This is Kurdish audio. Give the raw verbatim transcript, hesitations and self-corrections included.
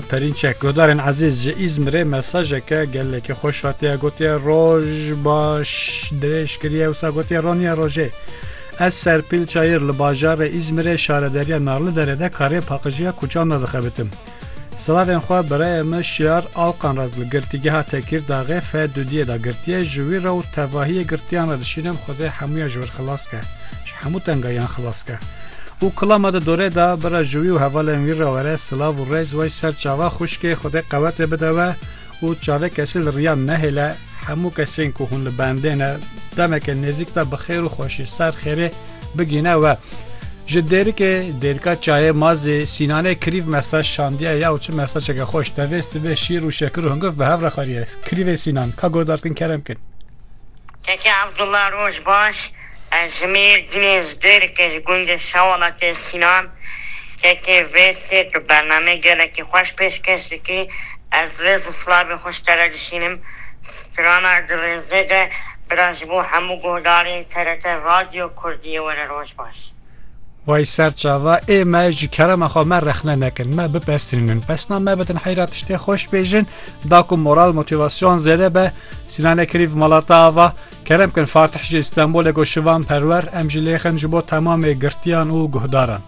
Perînçek, guhdarên ezîz, ji Îzmirê mesajeke gelekî xweş hatiye gotiye, "Roj baş." Dirêj kiriye, wisa gotiye, "Roniya rojê." Ez Serpîl Çayir li bajarê Îzmirê, şaredariya Narliderê de karê paqijiya kuçan de dixebitim. Silavên xwe birayê min Şiyar Alkan re li girtîgeha Tekîrdaxê F dudiyê de girtiye, ji wî re û tevahiyê girtiyan re dişînim, Xwedê hemûya ji wir xilas ke, ji hemû tengayiyan xilas ke. Û kilama di dorê de bira ji wî û hevalên wî re were silav û rêz. Wey ser çava xwişkê, Xwedê qewetê bide we û çavê kesî li riyan nehêle. Hemû kesên ku hûn li bendê ne, demeke nêzîk de bi xêr û xweşî ser xêrê bigîne we. Ji Dêrikê, Dêrika Çayê Mazê, Sînanê Krîv mesaj şandiye ya û çi mesajeke xweş. Tevê sibê şîr û şekir û hungiv bi hev re xwariye. Krîvê Sînan, ka guhdar kin, kerem kin. Keke Abdullah, roj baş. Ez ji Mêrdînê, ji Dêrikê, ji gundê Şewala tê Sînan. Keke vê sê tu bernameyê gelekî xweş pêşkêş dikî. Ez rêz û silavê xwe ji te re dişînim. Strana di rêzê de bira ji bo hemû guhdarên T R T Radyo Kurdiyê were, roj baş. Way ser çava, ê me ji kerema xwe me rexne nekin, me bipestrînin. Pesna me bidin heyra tiştê xweş bêjin, da ku moral, motivasyon zêde be. Sînanê Krîv mala te ava. Kerem kin Fatih ji Îstanbulê go Şivan Perwer, em jî lêxin ji bo temamê girtiyan û guhdaran.